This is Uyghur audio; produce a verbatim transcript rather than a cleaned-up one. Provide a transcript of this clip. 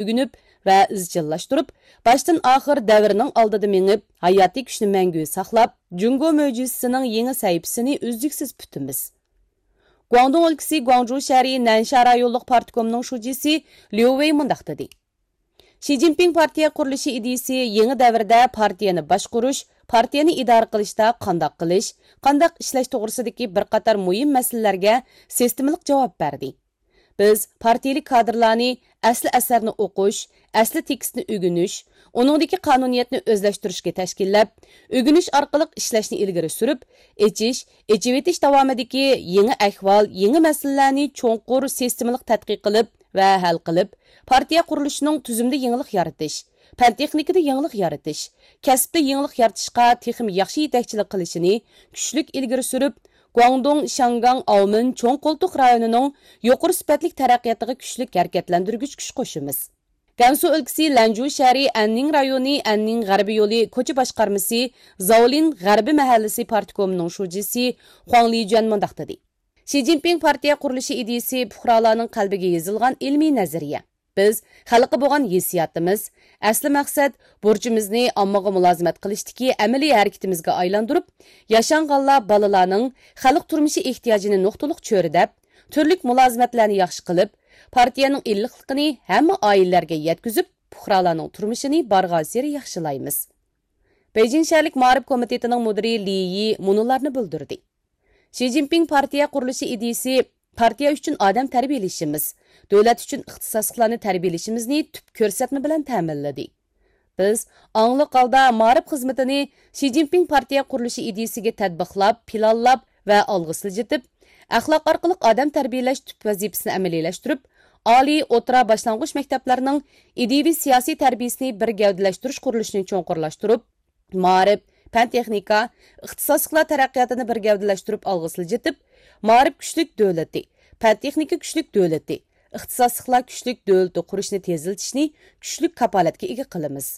ئۆگىنىپ ۋە ئىزچىللاشتۇرۇپ، باشتىن ئاخىر دەۋرنىڭ ئالدىدا مېڭىپ، ھاياتىي كۈچنى مەڭگۈ ساقلاپ، جۇڭگو مۆجىزىسىنىڭ يېڭى سەھىپىسىنى ئۈزلۈكسىز پۈتىمىز. گۇاڭدۇڭ ئۆلكىسى گۇاڭجۇ شەھىرى نەنشيا رايونلۇق پارتكومنىڭ شۇجىسى ليۇ ۋېي مۇنداق دېدى: شى جىنپىڭ پارتىيە قۇرۇلۇشى ئىدىيىسى يېڭى دەۋردە پارتىيەنى باشقۇرۇش، پارتىيەنى ئىدارە قىلىشتا قانداق قىلىش، قانداق ئىشلەش توغرىسىدىكى بىر قاتار مۇھىم مەسىلىلەرگە سىستېمىلىق جاۋاب بەردى. بىز پارتىيەلىك كادىرلارنى ئەسلى ئەسەرنى ئوقۇش، ئەسلى تېكىستنى ئۆگىنىش، ئۇنىڭدىكى قانۇنىيەتنى ئۆزلەشتۈرۈشكە تەشكىللەپ، ئۆگىنىش ئارقىلىق ئىشلەشنى ئىلگىرى سۈرۈپ، ئېچىش، ئېچىۋېتىش داۋامىدىكى يېڭى ئەھۋال، يېڭى مەسىلىلەرنى چوڭقۇر سىستېمىلىق تەتقىق قىلىپ ۋە ھەل قىلىپ، پارتىيە قۇرۇلۇشىنىڭ تۈزۈمدە يېڭىلىق يارىتىش، پەن تېخنىكىدا يېڭىلىق يارىتىش، كەسىپتە يېڭىلىق يارىتىشقا تېخىمۇ ياخشى يېتەكچىلىك قىلىشىنى كۈچلۈك ئىلگىرى سۈرۈپ، گۇاڭدۇڭ، شياڭگاڭ، ئاۋمېن چوڭ قولتۇق رايونىنىڭ يۇقىرى سۈپەتلىك تەرەققىياتىغا كۈچلۈك ھەرىكەتلەندۈرگۈچ كۈچ قوشىمىز. گەنسۇ ئۆلكىسى لەنجۇ شەھىرى ئەننىڭ رايونى ئەننىڭ غەربىي يولى كوچا باشقارمىسى زاۋلىن غەربىي مەھەللىسى پارتكومىنىڭ شۇجىسى خۇاڭ لىجۈەن مۇنداق دېدى: شى جىنپىڭ پارتىيە قۇرۇلۇشى ئىدىيىسى پۇقرالارنىڭ قەلبىگە يېزىلغان ئىلمىي نەزەرىيە. بىز خەلققە بولغان ھېسسىياتىمىز، ئەسلى مەقسەت، بۇرچىمىزنى ئاممىغا مۇلازىمەت قىلىشتىكى ئەمەلىي ھەرىكىتىمىزگە ئايلاندۇرۇپ، ياشانغانلار بالىلارنىڭ خەلق تۇرمۇشى ئېھتىياجىنى نۇقتىلىق چۆرىدەپ، تۈرلۈك مۇلازىمەتلەرنى ياخشى قىلىپ، پارتىيەنىڭ ئىللىقلىقىنى ھەممە ئائىلىلەرگە يەتكۈزۈپ، پۇقرالارنىڭ تۇرمۇشىنى بارغانسېرى ياخشىلايمىز. بېيجىڭ شەھەرلىك مائارىپ كومىتېتىنىڭ مۇدىرى لى يى مۇنۇلارنى بىلدۈردى: شى جىنپىڭ پارتىيە قۇرۇلۇشى ئىدىيىسى پارتىيە ئۈچۈن ئادەم تەربىيەلىشىمىز، دۆلەت ئۈچۈن ئىختىساسلىقلارنى تەربىيەلىشىمىزنى تۈپ كۆرسەتمە بىلەن تەمىنلىدى. بىز ئاڭلىق ھالدا مائارىپ خىزمىتىنى شى جىنپىڭ پارتىيە قۇرۇلۇشى ئىدىيىسىگە تەتبىقلاپ، پىلانلاپ ۋە ئالغا سىلجىتىپ، ئەخلاق ئارقىلىق ئادەم تەربىيەلەش تۈپ ۋەزىپىسىنى ئەمەلىيلەشتۈرۈپ، ئالىي، ئوتتۇرا، باشلانغۇچ مەكتەپلەرنىڭ ئىدىيىۋى سىياسىي تەربىيىسىنى بىر گەۋدىلەشتۈرۈش قۇرۇلۇشىنى چوڭقۇرلاشتۇرۇپ، مائارىپ، پەن تېخنىكا، ئىختىساسلىقلار تەرەققىياتىنى بىر گەۋدىلەشتۈرۈپ ئالغا سىلجىتىپ، مائارىپ كۈچلۈك دۆلىتى، پەن تېخنىكا كۈچلۈك دۆلىتى، ئىختىساسلىقلار كۈچلۈك دۆلىتى قۇرۇشنى تېزلىتىشنى كۈچلۈك كاپالەتكە ئىگە قىلىمىز.